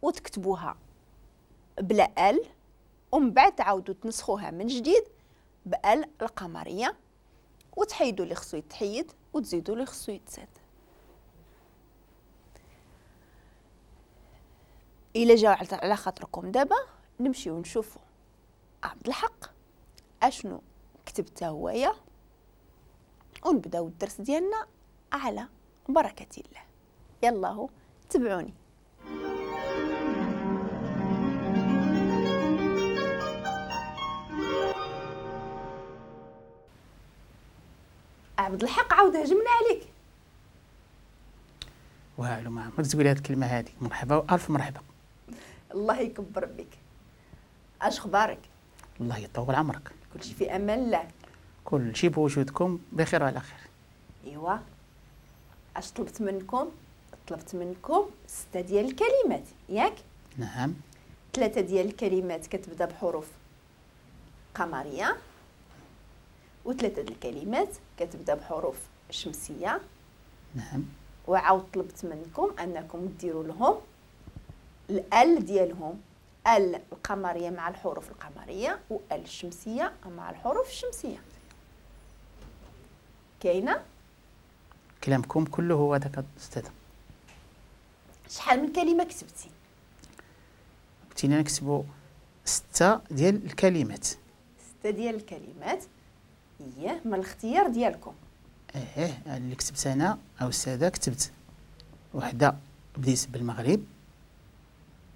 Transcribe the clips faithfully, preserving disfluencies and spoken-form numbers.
وتكتبوها بلا ال، ومن بعد تعاودوا تنسخوها من جديد بال القمريه، وتحيدوا اللي خصو يتحيد وتزيدوا اللي خصو يتزاد. الا جاو على خاطركم دابا نمشيو نشوفوا عبد الحق اشنو كتب تا هويا، ونبداو الدرس ديالنا على بركة الله. يلا تبعوني. عبد الحق عاود هجمنا عليك. والو ما عمرك تقولي هاد الكلمة هادي. مرحبا والف مرحبا. الله يكبر بك. اش اخبارك؟ الله يطول عمرك. كلشي في امان الله. كلشي بوجودكم بخير وعلى خير. ايوا اش طلبت منكم؟ طلبت منكم ستة ديال الكلمات، ياك؟ نعم. ثلاثة ديال الكلمات كتبدا بحروف قمريه، وثلاثة ديال الكلمات كتبدا بحروف شمسية. نعم. وعاود طلبت منكم انكم ديروا لهم ال ديالهم، ال القمريه مع الحروف القمريه وال الشمسية مع الحروف الشمسية. كاينه؟ كلامكم كله هو هذاك استاذ. شحال من كلمة كتبتي؟ قلتي لنا نكتبوا ستة ديال الكلمات. ستة ديال الكلمات، اييه، من الاختيار ديالكم. ايه اللي كتبت انا او السادة، كتبت وحده بديت بالمغرب.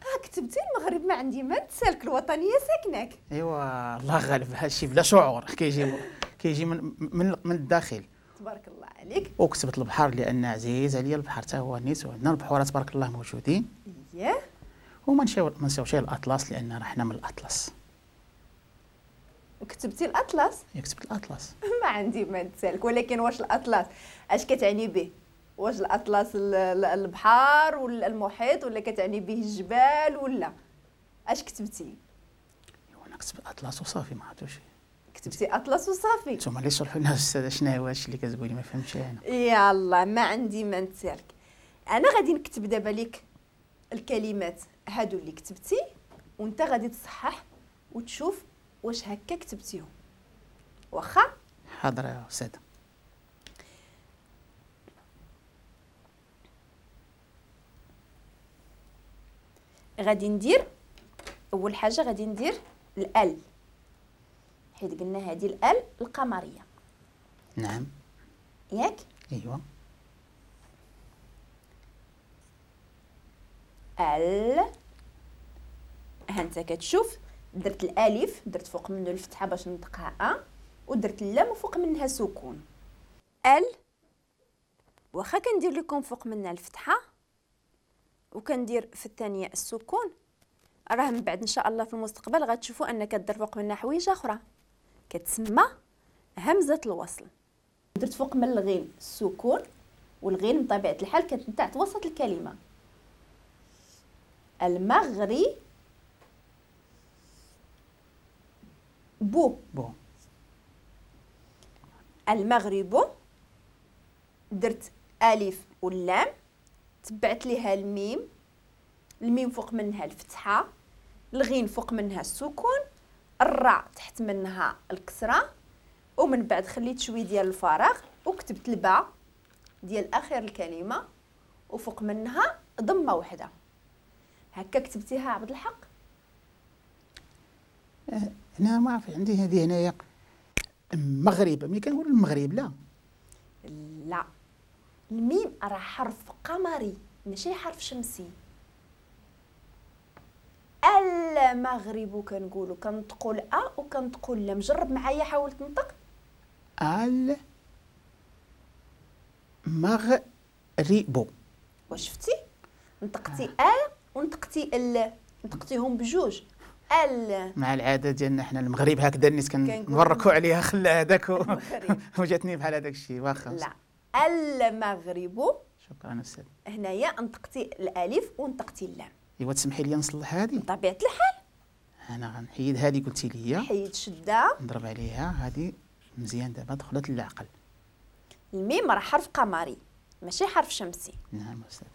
اه كتبتي المغرب، ما عندي ما نتسالك، الوطنية ساكناك. ايوا الله غالب، هادشي بلا شعور كيجي كيجي من من من الداخل. تبارك الله عليك. وكتبت البحر لان عزيز عليا البحر حتى هو نيت، وعندنا البحوره تبارك الله موجودين. اييه. وما نساو ما نساوش الاطلس لان راه حنا من الاطلس. كتبتي الاطلس؟ كتبت الاطلس. ما عندي ما نتسالك، ولكن واش الاطلس اش كتعني به؟ واش الاطلس البحر ولا المحيط ولا كتعني به الجبال ولا اش كتبتي؟ ايوا انا كتبت الاطلس وصافي، ما عرفتوش. كتبتي اطلس وصافي. نتوما اللي شرحوا لنا الاستاذ شنو هو هادشي اللي كتقولي، ما فهمتش انا. يلا ما عندي ما نتسالك. انا غادي نكتب دابا لك الكلمات هادو اللي كتبتي، وانت غادي تصحح وتشوف واش هكا كتبتيهم. واخا؟ حاضر يا استاذه. غادي ندير اول حاجة غادي ندير ال، حيت قلنا هذه ال القمريه. نعم. ياك؟ ايوا. ال، ها انت كتشوف درت الالف، درت فوق منه الفتحة باش نطقها ا، ودرت اللام وفوق منها سكون. ال، واخا كندير لكم فوق منها الفتحة وكندير في الثانية السكون، راه من بعد ان شاء الله في المستقبل غتشوفوا ان كدير فوق منها حويجه اخرى كتسمى همزه الوصل. درت فوق من الغين السكون، والغين بطبيعة الحال كتنتع وسط الكلمة. المغري بو بو. المغرب، درت الف واللام، تبعت ليها الميم، الميم فوق منها الفتحة، الغين فوق منها السكون، الراء تحت منها الكسرة، ومن بعد خليت شوية ديال الفراغ وكتبت الباء ديال اخر الكلمة وفوق منها ضمه وحده. هكا كتبتيها عبد الحق؟ انا ما عرف عندي هذه هنايا المغرب، ملي كنقول المغرب لا لا، الميم راه حرف قمري ماشي حرف شمسي. المغرب كنقولوا كنطقوا الأ وكنطقوا اللام. جرب معايا، حاول تنطق. المغرب. واش شفتي؟ نطقتي ال ونطقتي ال، نطقتيهم بجوج. ال مع العادة ديالنا حنا المغرب هكذا الناس كنوركوا عليها، خلى هذاك وجاتني بحال هذاك الشيء. واخا لا، المغرب. شكرا استاذ. هنايا نطقتي الالف ونطقتي اللام. ايوا تسمحي لي نصلح هذه؟ بطبيعة الحال. انا غنحيد هذه قلتي لي. حيد شده. نضرب عليها هذه مزيان. دابا دخلت للعقل. الميم راه حرف قمري ماشي حرف شمسي. نعم استاذ.